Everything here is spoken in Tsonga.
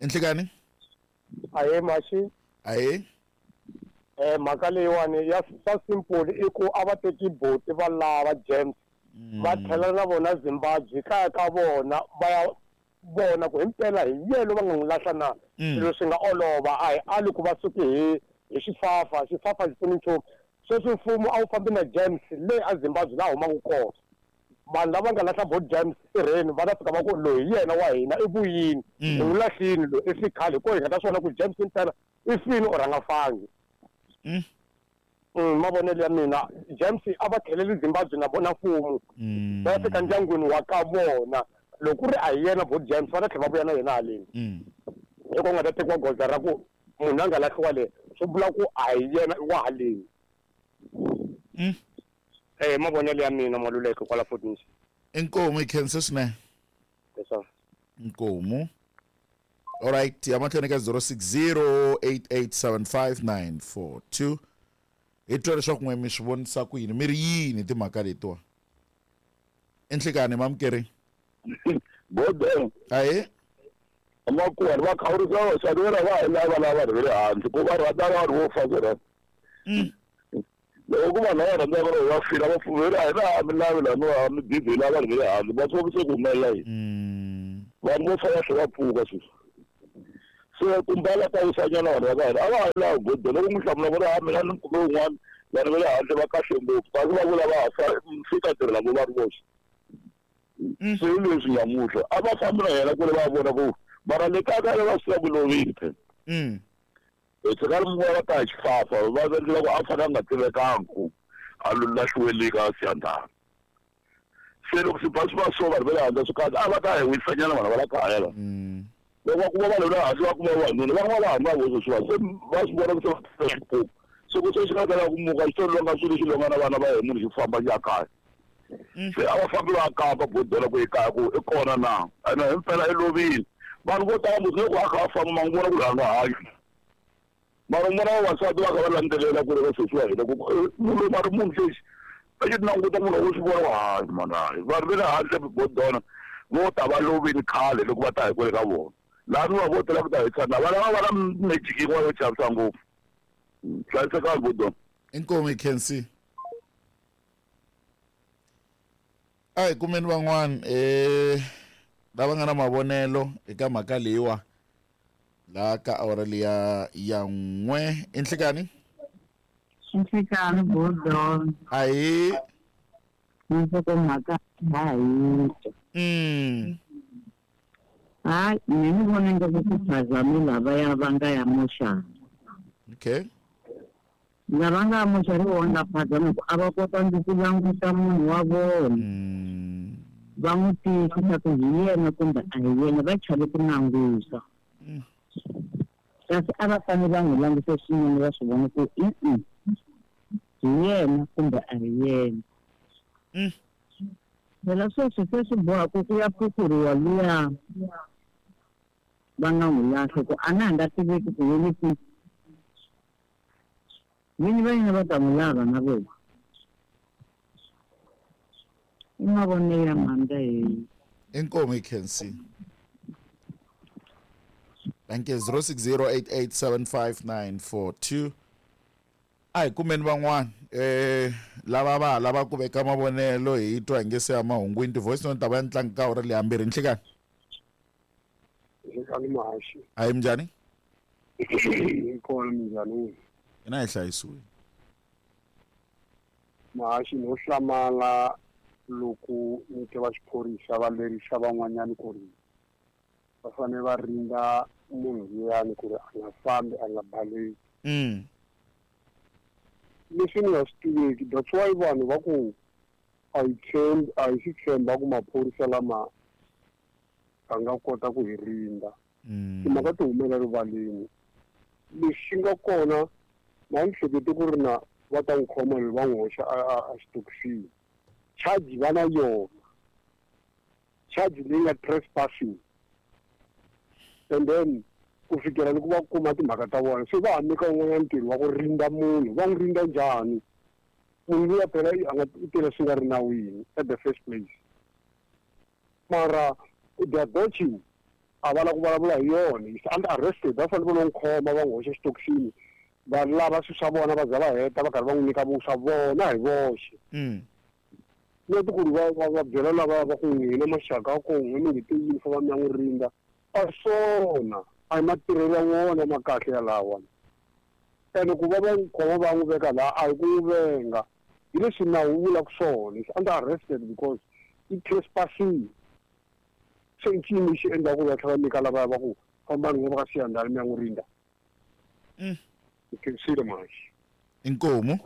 Enhlekani. Ahee Maxi. Ahee. Mhaka leyiwani ya swa simple i ku a va teki boti va lava James va tlhela na vona Zimbabwe kaya ka vona va ya vona ku himpela hi yena va nga n'wi lahla na. Swilo swi nga olova a hi ali ku va suke hi hi xifafa xifafa xi pfuni nchumu. Sweswi mfumo a wu fambi na James le a Zimbabwe laha humaka kona. Vanhu lava nga lahla bo James sirheni va ta fika va ku loyi hi yena wa hina i vuyini hi n'wi lahlini loyi i fi khale hi ko hi nga ta swi vona ku James impela i fini or a nga fangi. Mavonelo ya mina James a va tlheleli Zimbabwe na vona mfumo va ya fika ndyangwini wa ka vona loko ku ri a hi yena bo James va ta tlhela va vuya na yena haleni hi ko nga ta tekiwa goza ra ku munhu a nga lahliwa le swi vula ku a hi yena i wa haleni. Mavonelo ya mina Maluleke kwala Fort Mission. Inkomu hi khense swinene. Yes sir. Inkomu. Alright, ya mahlweni ka 0608875942. Hi twa leswaku n'we mi swi vonisa ku yini mi ri yini timhaka letiwa. Enhlekani mamukeri. Bodo. Ahe. Makuwa va khawurisa vaxavi va va hi lava lava vanhu va le handle ku va rhandza vanhu vo fa swona. Loko ku vanhu lava rhandzaka loko va fila va pfumela a hi na mi lavi laha mi va mi busy hi lava vanhu va le handle va swi se ku humelela yini. Vanhu vo fa va tlhela va pfuka sweswi. Se ku mbala ka wisanyana vanhu va ka hina a va ha lavi bodo loko n'wi hlamula va ri ha mina ni kume wun'wana vanhu va le handle va kahle ngopfu kasi va vula va ha fa fika tirhela vo va ri voxe. Se hi leswi nyamutlha a va fambi na yena kule va vona ku mara le kaya ka yena va swi tiva ku lovile phela. Hi tshika ri va ta hi xifafa va endlela ku a fanele a nga tivekangi ku a lahliwele ka Siyandhani. Se loko swi ba swi va so vanhu va le handle swi kahle a va ta hi wisanyana vanhu va la kaya la. Loko va kuma vanhu va le handle va kuma vavanuna va nga va hamba voxe swi va se va swi vona ku se va xipuku. Se ku se xi nga ta lava ku muka xi to longa swilo xi longa na vana va yena munhu xi famba xi ya kaya. Se a va fambi va ya kamba bodela ku ekaya ku i kona na ene himpela i lovile. Vanhu vo tala musi loko a kha a famba ma n'wi vona ku ri a nga hanyi. Mara n'wana wa vavasati va kha va landzelela ku ri va sesi wa hina ku munhu loyi mara munhu lexi a xi languta munhu wo swi vona ku hayi mani hayi vanhu va le handle bodona vo ta va lovile khale loko va ta hi kwale ka vona laha mi va vo tela ku ta hi tshana va lava va na magic yin'wana yo chavisa ngopfu hlayisekani bodona. Inkomu hi khensi. A hi kumeni van'wana lava nga na mavonelo eka mhaka leyiwa laha ka awara liya ya n'we i nhlekani. Nhlekani bodon. Ahi. Nhlokomhaka ha yi twa. Hayi mina ni vona ingaku ku phazame lavaya va nga ya moxana. Okay. Lava nga moxari va nga phazama ku a va kotangi ku languta munhu wa vona. Va n'wi tiyisisa ku hi yena kumbe a hi yena va chave ku languta. Kasi a va fanele va n'wi langutisa swinene va swi vona ku i-i hi yena kumbe a hi yena. Phela sweswi se swi boha ku ku ya phuphuriwa luya va nga n'wi lahla ku a na ha nga tiveki ku yini kwihi. Vini va yena va ta n'wi lava na vona. I mavonelo ya mhanda heyi. Inkomu hi khensi. Thank you. 0608875942. A hi kumeni van'wana lava va ha lava ku veka mavonelo hi twa hi nge se ya mahungwini ti-voice note ta va ya ntlangu ka awara leyi hambirhi nhlekani. Nhlekani Mahaxi. Hayi minjhani? Hi kona minjhani n'wina? Hina hi hlayisiwile. Mahaxi no hlamala loko ni twa va xiphorisa va lerisa van'wanyana ku ri va fanele va rinda munhu luyani ku ri a nga fambi a nga baleki. Leswi ni nga swi tiveki that's why vanhu va ku a hi tshembi a hi swi tshemba ku maphorisa lama a nga kota ku hi rinda. Timhaka ti humela rivaleni. Lexi xi nga kona na ni hlekete ku ri na va ta n'wi khoma loyi va n'wi hoxa a xitokisini. Charge va na yona. Charge leyi nga trespassing. And then ku fikela loko va kuma timhaka ta vona se va ha nyika un'wanyana ntirho wa ku rinda munhu va n'wi rinda njhani munhu luya phela a nga tirha swi nga ri nawini at the first place mara they are dodging. A va la ku vulavula hi yona. Is under arrested, va fanele va n'wi khoma, va n'wi hoxa xitokisini, va lava swilo swa vona, va za va heta, va karhi va n'wi nyika vuswa vona hi voxe. Not ku ri va byela lava va ku n'wina maxaka ya ko, n'we mi nge te yini, fa va mi ya n'wi rindza. A swona a hi matirhelo ya wona ma kahle yalawa. Ene ku va va n'wi khoma va n'wi veka laha, a hi ku n'wi venga, hi leswi nawu wu vulaka swona. Is under arrested because i trespassing. Se i ncini lexi endlaka ku va tlhela va nyika lavaya va ku fambani n'we va ka siyandhani mi ya n'wi rindza? I khensile mhaxi. Inkomu.